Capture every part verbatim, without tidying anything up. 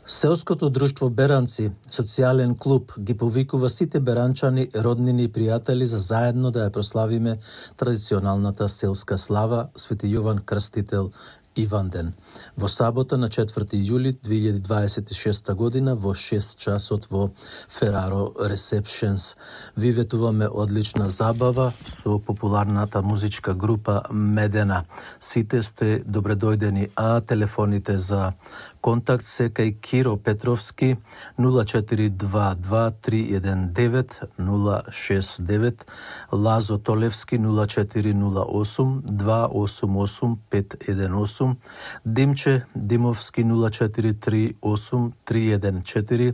Селското друштво Беранци, социјален клуб, ги повикува сите беранчани, роднини и пријатели за заедно да ја прославиме традиционалната селска слава Свети Јован Крстител Иванден. Во сабота на четврти јули две илјади дваесет и шеста година во шест часот во Фераро Ресепшенс. Ви ветуваме одлична забава со популарната музичка група Медена. Сите сте добредојдени, а телефоните за контакт се кај Киро Петровски нула четири два два три еден девет нула шест девет, Лазо Толевски нула четири нула осум два осум осум пет еден осум, Димче Димовски нула четири три осум три еден четири.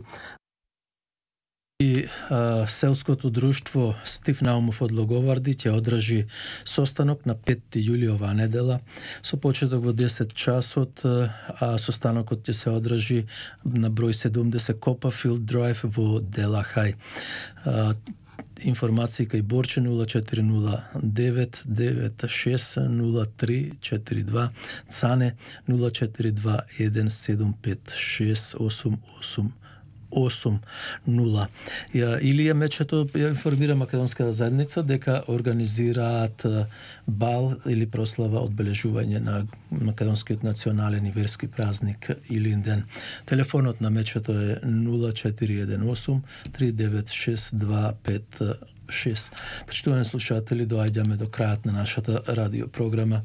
И а, селското друштво Стив Наумов од Логоварди ќе одржи состанок на петти јули оваа недела со почеток во десет часот, а состанокот ќе се одржи на број седумдесет Копафилд Драйв во Делахај. Информации кај Борче нула четири нула девет девет шест нула три четири два, Цане нула четири два еден седум пет шест осум осум осум нула. Ја, Илија Мечето ја информира македонската заедница дека организираат бал или прослава одбележување на македонскиот национален и верски празник Илинден. Телефонот на Мечето е нула четири еден осум три девет шест два пет шест. Почитувани слушатели, доаѓаме до крајот на нашата радио програма.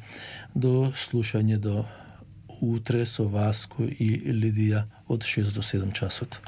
До слушање до утре со Васко и Лидија од шест до седум часот.